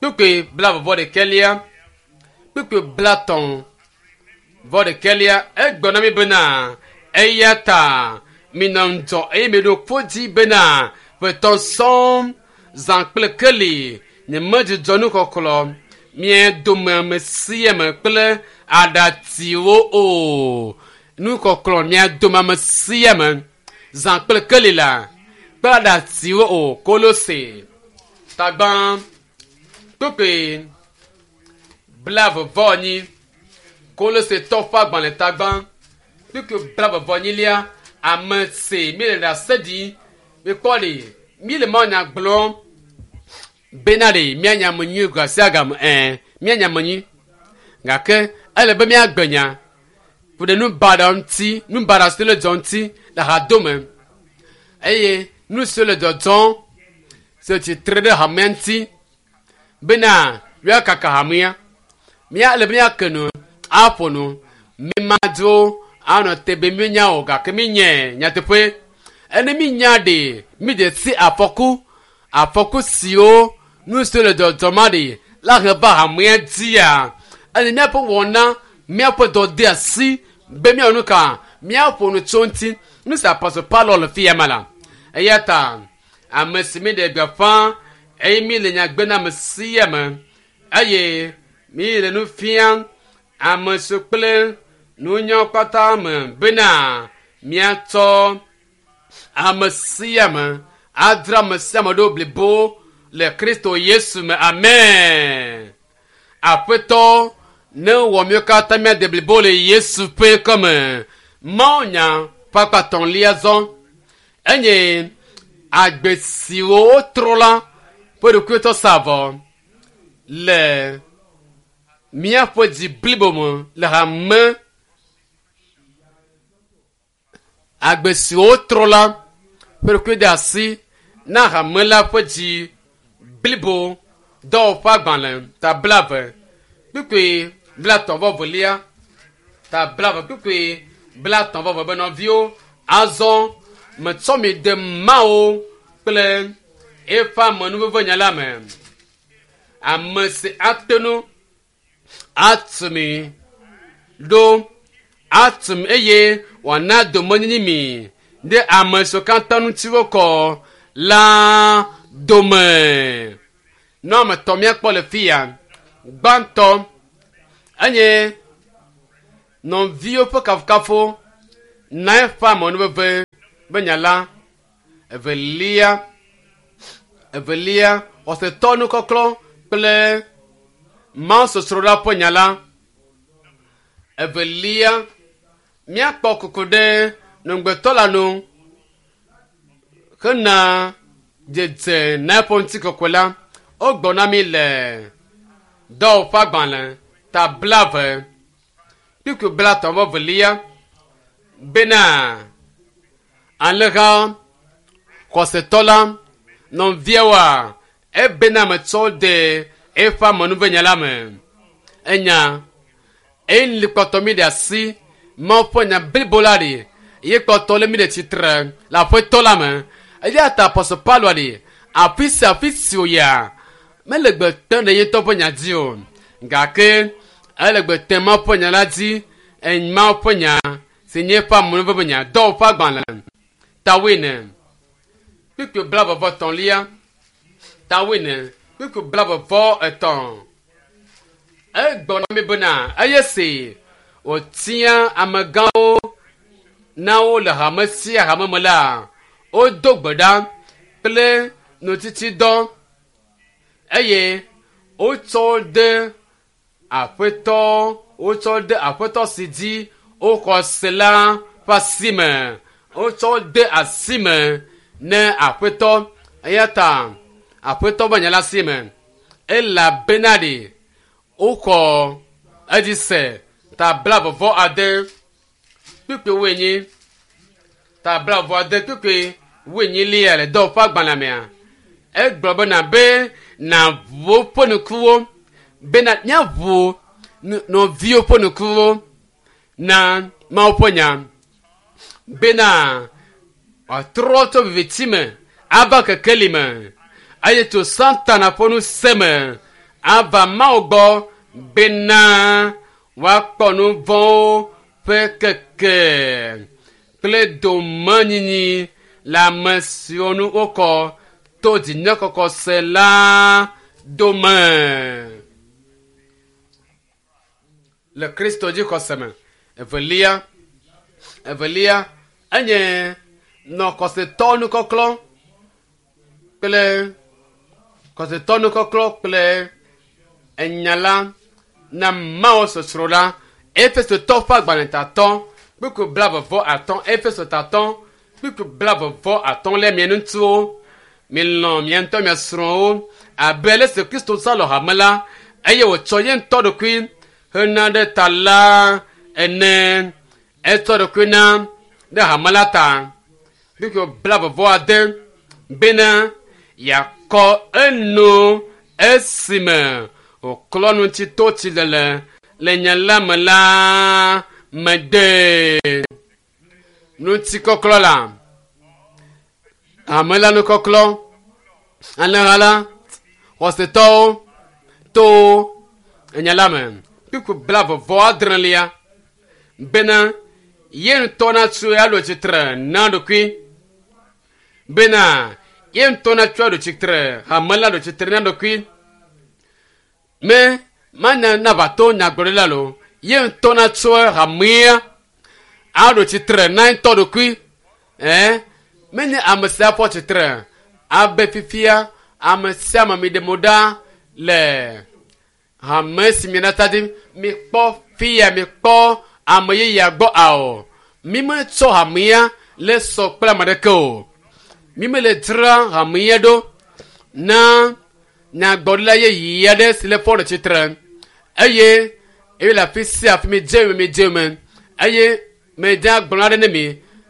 kpukpui 20/6 kpukpui 30/6 egblɔ na mi bena eya ta minɔ ŋudzɔ eye miɖo kpo dzi bena ƒetɔ sɔŋ zã kple keli nyemedzudzɔ nuxɔxlɔ mia dome ame sia ame kple aɖatsiwo o. Nuxɔxlɔ mia dome ame sia ame zã kple keli la kple aɖatsiwo o. Kolose tagbã kpukpui 24 Kolose tɔ ƒe agbalẽ tagbã kpukpui 24 ame si mi le ɖase ɖi mikpɔ ɖe mi le mawunya gblɔm bena ɖe míanya ame nyui ga sia game míanya ame nyui gake ele be míagbe nya ku ɖe nu baɖa ŋuti, nu baɖa siwo le dzɔ ŋuti le hadome eye nu siwo le dzɔdzɔm si tsitre ɖe hamea ŋuti bena míakaka hamea. Mía ele be míake nu aƒo nu mímadzo anɔ te be míenya o gake mínye nyateƒe. Ene mínya ɖe mídze si afɔku afɔku siwo nu siwo le dzɔdzɔm aɖe la he va hamea dzia. Ene míaƒe wɔna míaƒe dɔdeasi be míawɔ nu ka míaƒo nu tso ŋuti. Nu si Apostle Paulo le fia ma la. Eya ta ame si mi ɖe gbeƒã eye mi le nya gbe na ame sia ame eye mi le nu fiam ame siwo kple nunya katã me bena míatsɔ ame sia ame adzra ame sia ame ɖo blibo le Kristo Yesu me. Amen. Aƒetɔ ne wɔ míwo katã míade blibo le Yesu ƒe kɔme. Mawunya ƒe akpa etɔ̃lia zɔ enye agbe siwo wotrɔ la ƒe ɖokuitɔ sa vɔ le míaƒe dzi blibo me le hame. Agbe siwo wotrɔ la ƒe ɖokui de asi na hame la ƒe dzi blibo. Dɔwɔƒe agbalẽ ta 20 kpukpui 30/2 ta 20 kpukpui 30/2 be nɔviwo azɔ metsɔ mi de Mawu kple eƒe amenuveve nya la me. Ame si ate ŋu atu mi ɖo atu mi eye wòana domenyinyi mi ɖe ame siwo katã ŋuti wokɔ la dome. Nu ame etɔ̃ míakpɔ le fi ya. Gbãtɔ enye Nɔviwo ƒe kafukafu na eƒe amenuveve be nya la. Evelia, evelia, xɔsetɔ nukɔklɔ kple mawusosroɖa ƒe nya la. Evelia, míakpɔ kuku ɖe nugbetɔ la nu hena dzedze na eƒe ŋutikɔkɔe la. Wogblɔ na mí le dɔwɔƒe agbalẽ ta 20 kpukpui 32 bena alẽha xɔsetɔ la nɔviawoa ebena metsɔ de eƒe amenuvenya la me. Enya eyi kpɔtɔ mi ɖe asi Mawu ƒe nya blibo la ɖi ye kpɔtɔ le mi ɖe tsitre le aƒetɔ la me. Eya ta Apɔstɔ Paulo ɖi afi sia afi si wòyia mele gbe tem ɖe ye ŋutɔ ƒe nya dzi o gake ele gbe tem Mawu ƒe nya la dzi Mawu ƒe nya si nye eƒe amenuveve nya dɔwɔƒe agbalẽ ta 9 kpukpui 23 ta 9 kpukpui 23. Egblɔ na mi bena eye si wòtia amegãwo na wo le hame sia hame me la, wodo gbe ɖa kple nutsitsidɔ eye wotsɔ de aƒetɔ wotsɔ de aƒetɔ si dzi woxɔ se la ƒe asi me. Wotsɔ de asi me ne aƒetɔ eya ta aƒetɔ ƒe nya la si me elabena ɖe woxɔ edzi se ta 26 kpukpui 40 ta 26 kpukpui 40 le dɔwɔƒe agbalẽ mea. Egblɔ bena be nàʋu woƒe ŋkuwo bena míaʋu nɔviwo ƒe ŋkuwo na Mawu ƒe nya bena wòatrɔ tso viviti me ava kekeli me eye tso Satana ƒe ŋusẽ me ava Mawu gbɔ bena woakpɔ nu vɔ̃wo ƒe keke kple domenyinyi le ame siwo nu wokɔ to dzinyekɔkɔ se la dome. Le Kristo dzi xɔse me. Evelia, evelia enye nɔ xɔsetɔ nukɔklɔ kple xɔsetɔ nukɔklɔ kple enya la na Mawu sosro la. Efesotɔ ƒe agbalẽ tatɔ kpukpui 23 Efeso tatɔ kpukpui 23 le mia ŋutsuwo milɔ̃ mia ŋutɔ mia srɔ̃wo abe ale si Kristo zã lɔ hame la eye wòtsɔ ye ŋutɔ ɖokui hena ɖe ta la ene. Etsɔ ɖokui na ɖe hame la ta. Kpukpui 26 bena yeakɔ enu esime wòklɔ nu ŋuti to tsilele le nya la me la me de. Ŋutikɔklɔ la hame la nukɔklɔ alẽha la xɔsetɔwo to enya la me. Kpukpui 36 bena ye ŋutɔ natsoe aɖo tsitre na ɖokui bena ye ŋutɔ natsoe aɖo tsitre hame la ɖo tsitre na ɖokui me manya nava to nyagblɔɖila lo ye ŋutɔ natsoe hamea aɖo tsitre na ŋutɔ ɖokui ɛɛ menye ame sia fɔ tsitre abe fifia ame sia ame mi ɖe mo ɖa le hame si mi nata dzi mikpɔ fia mikpɔ ame yeyea gbɔ ao mi metsɔ hamea le sɔ kple ame ɖeke o mi mele dzra hamea ɖo na nyagblɔɖila yeye aɖe si le fɔ ɖe tsitre eye eye le afi sia afi mi dze mi dze me eye medze agblɔ aɖe ne mi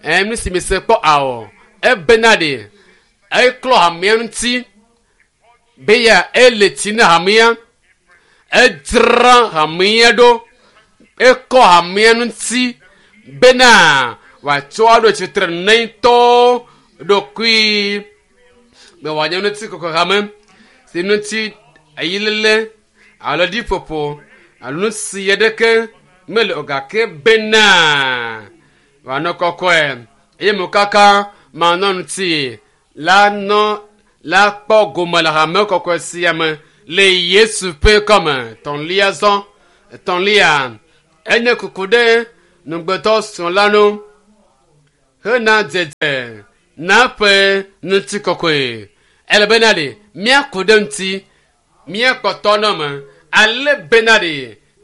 ɛɛ nu si mi se kpɔ ao ebena ɖe eklɔ hamea ŋuti be ya ele tsi na hamea edzra hamea ɖo ekɔ hamea ŋuti bena wòatsɔ aɖo tsitre ne ŋutɔ ɖokui be wòanye ŋuti kɔkɔ hame si ŋuti ayilele alo ɖiƒoƒo alo nu si aɖeke mele o gake bena wòanɔ kɔkɔe eye mokaka manɔ ŋuti la nɔ la kpɔ gome le hame kɔkɔe sia me le Yesu ƒe kɔme. Etɔ̃lia zɔ etɔ̃lia Enye kuku ɖe nugbetɔ srɔ̃ la nu hena dzedze na ƒe ŋutikɔkɔe. Ele bena ɖe míaku ɖe ŋuti, míakpɔtɔ nɔ me ale bena ɖe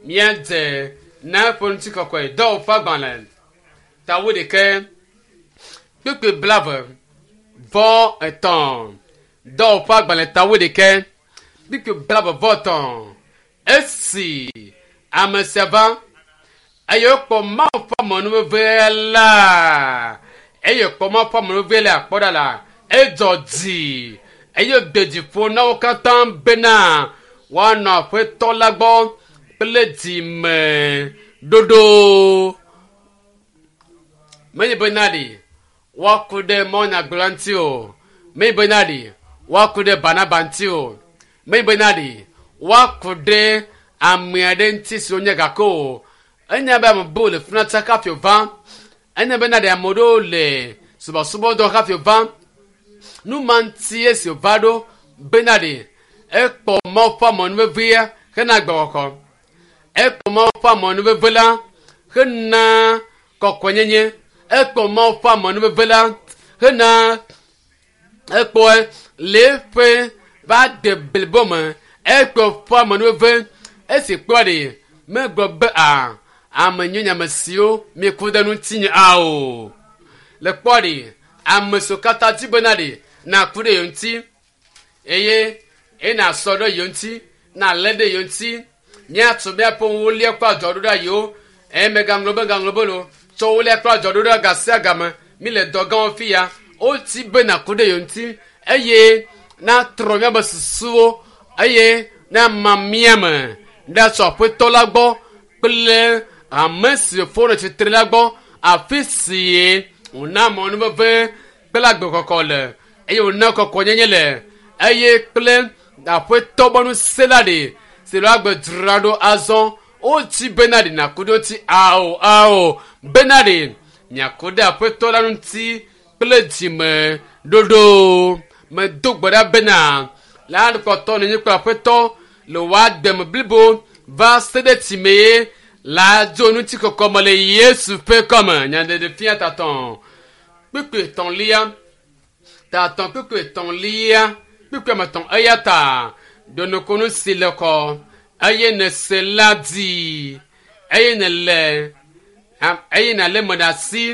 míadze na eƒe ŋutikɔkɔe. Dɔwɔƒe agbalẽ tawo ɖeke kpekpe 23. Dɔwɔƒe agbalẽ tawo ɖeke kpekpe 23. Esi ame sia va eye wokpɔ Mawu ƒe amenuveve la, eye wokpɔ Mawu ƒe amenuveve la kpɔ ɖa la, edzɔ dzi eye wòde dzi ƒo na wo katã bena woanɔ Aƒetɔ la gbɔ kple dzime ɖoɖo. Menye bena ɖi woaku ɖe mawunyagblɔla ŋuti o. Menye bena ɖi woaku ɖe Barnaba ŋuti o. Menye bena ɖi woaku ɖe ame aɖe ŋuti si wonye gake o. Enya be ame bubu le fi na tsaka hafi wòva. Enya bena ɖe ame ɖewo le subɔsubɔdɔ hafi wòva. Nu ma ŋuti esi wòva ɖo bena ɖe ekpɔ Mawu ƒe amenuvevea hena agbexɔxɔ. Ekpɔ Mawu ƒe amenuveve la hena kɔkɔenyenye. Ekpɔ Mawu ƒe amenuveve la hena ekpɔe le eƒe va de blibo me. Ekpɔ ƒe amenuveve esi kpɔa ɖe megblɔ be a ame nyui nye ame siwo mieku ɖe ŋutinye ao. Le kpɔa ɖe ame siwo katã di bena ɖe naku ɖe yewo ŋuti eye eye nasɔ ɖe yewo ŋuti nalé ɖe yewo ŋuti míatso míaƒe wolia kple adzɔɖo ɖe yewo eye megaŋlɔ be gaŋlɔ be lo tsɔ wolia kple adzɔɖo ɖe ga sia game mi le dɔ gãwo fi ya woti be naku ɖe yewo ŋuti eye natrɔ míaƒe susuwo eye nama mía me ɖatsɔ aƒetɔ la gbɔ kple ame si fo ɖe tsitre la gbɔ afi si wòna mɔnuveve kple agbekɔkɔ le eye wòna kɔkɔnyenye le eye kple aƒetɔ ƒe ŋusẽ la ɖe si le agbe dzra ɖo azɔ wotsi bena ɖe nàku ɖe ŋuti ao ao bena ɖe miaku ɖe aƒetɔ la ŋuti kple dzime ɖoɖo medo gbe ɖa bena la kpɔtɔ nenye kple aƒetɔ le wòademe blibo va se ɖe tsimee la dzo ŋutikɔkɔ me le Yesu ƒe kɔme. Nyaɖeɖefia tatɔ kpukpui etɔ̃lia tatɔ kpukpui etɔ̃lia kpukpui ame etɔ̃ eya ta ɖonukunu si le kɔ eye nèse la di eye nèle eye nàlé me ɖe asi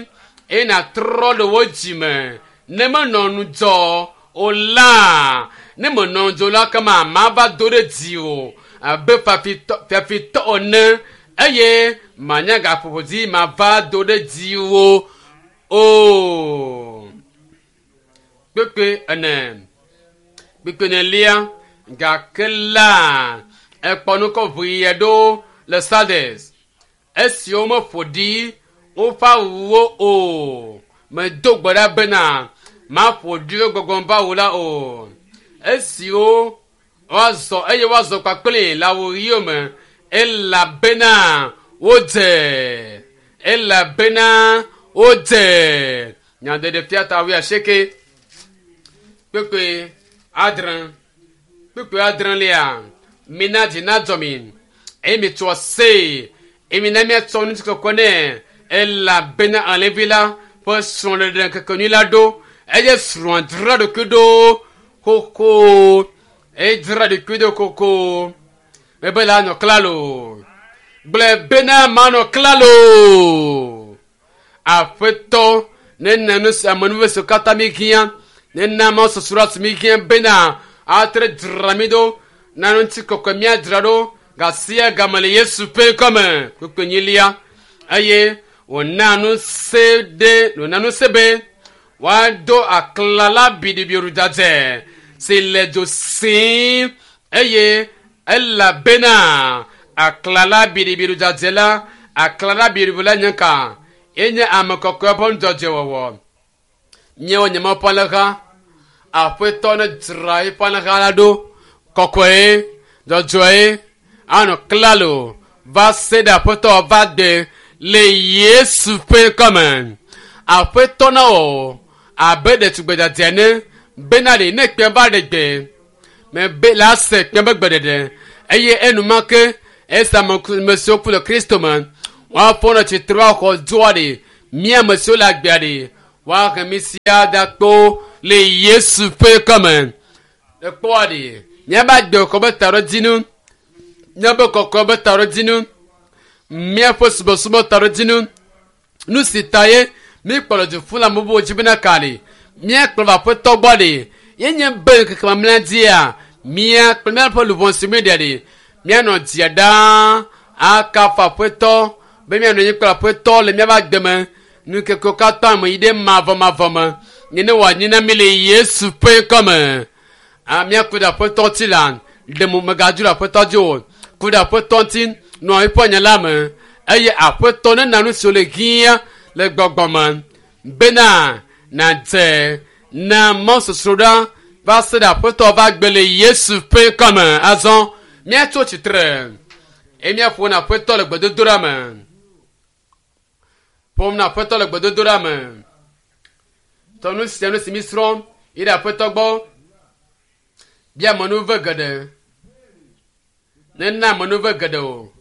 eye nàtrɔ ɖe wo dzime ne menɔ ŋudzɔ o la ne menɔ ŋudzɔ la kema mava do ɖe dziwò abe fiafitɔ ene eye manya gaƒoƒo dzi mava do ɖe dziwò o. Kpekpe ene kpekpe enelia gake la ekpɔ nukɔ ʋui aɖewo le Sardes esiwo meƒo ɖi woƒe awuwo o. Medo gbe ɖa bena maƒo ɖi wo gbɔgbɔm ƒe awu la o. Esiwo woazɔ eye woazɔ kpakple le awu ɣiwo me elabena wodze elabena wodze nyaɖeɖefia ta wuiasieke kpekpe adre kpekpe adrelia mina dzi nadzɔ mi eye mitsɔ aseye eye mina miatsɔ ŋutikɔkɔ nɛ elabena alẽvi la ƒe srɔ̃ɖeɖe ŋkekenyui la ɖo eye srɔ̃a dzra ɖokui ɖo xoxo edzra ɖokui ɖo xoxo mebe la nɔ klalo gblẽ bena manɔ klalo aƒetɔ nena nu si amenuveve siwo katã mi hiã nena mawusosroɖa si mi hiã bena atre dzra mi ɖo na ŋutikɔkɔe míadzra ɖo gasia game le Yesu ƒe ŋkɔme kpukpui enyilia eye wòna ŋusẽ ɖe wòna ŋusẽ be woado aklala biɖibiɖi dzadzɛ si le dzo sim eye elabena aklala biɖibiɖi dzadzɛ la aklala biɖibiɖi la nye ka enye ame kɔkɔe ƒe nudzɔdzɔewɔwɔ. Míawo nye Mawu ƒe alẽha aƒetɔ ne dzra eƒe alẽha la ɖo kɔkɔe dzɔdzɔe anɔ klalo va se ɖe aƒetɔ va de le Yesu ƒe ŋkɔme. Aƒetɔ na wɔ abe ɖetugbe dzadzɛ ene bena ɖe ne kpẽ va ɖe gbe mebe la se kpẽ be gbeɖeɖe eye enumake esi ame siwo ku le Kristo me Woafɔ nɔ tsitre woaxɔ dzoa ɖe. Mí ame siwo le agbea ɖe. Woahe mí sia da kpo le Yesu ƒe kɔme. Ekpɔa ɖe. Míaƒe agbe xɔ be taɖodzinu. Míaƒe kɔkɔ be taɖodzinu. Míaƒe subɔsubɔ taɖodzinu. Nu si ta ye míkplɔ du ƒu le ame bubuwo dzi bena ka ɖe. Míakplɔ va aƒetɔ gbɔ ɖe. Ye nye be ŋkeke mamlɛa dzia, mía kple míaƒe luʋɔ si míeɖe ɖe. Míanɔ dzia ɖaa akafu aƒetɔ be míanɔ anyi kple aƒetɔ le míaƒe agbe me. Nukekewo katã me yi ɖe mavɔmavɔ me. Nene wòanyi na mí le Yesu ƒe ŋkɔme. A míaku ɖe aƒetɔ ŋuti la, ɖe mo megadzo ɖe aƒetɔ dzi o. Ku ɖe aƒetɔ ŋuti nɔ eƒe nya la me eye aƒetɔ nena nu siwo le hiã le gbɔgbɔ me bena nàdze na mɔsosroɖa va se ɖe aƒetɔ va gbe le Yesu ƒe ŋkɔme. Azɔ míatso tsitre eye míaƒo na aƒetɔ le gbedodoɖa me. Ƒom na aƒetɔ le gbedodoɖa me. Tɔ nu sia nu si mísrɔ̃ yi ɖe aƒetɔ gbɔ. Bia amenuve geɖe. Nena amenuve geɖe o.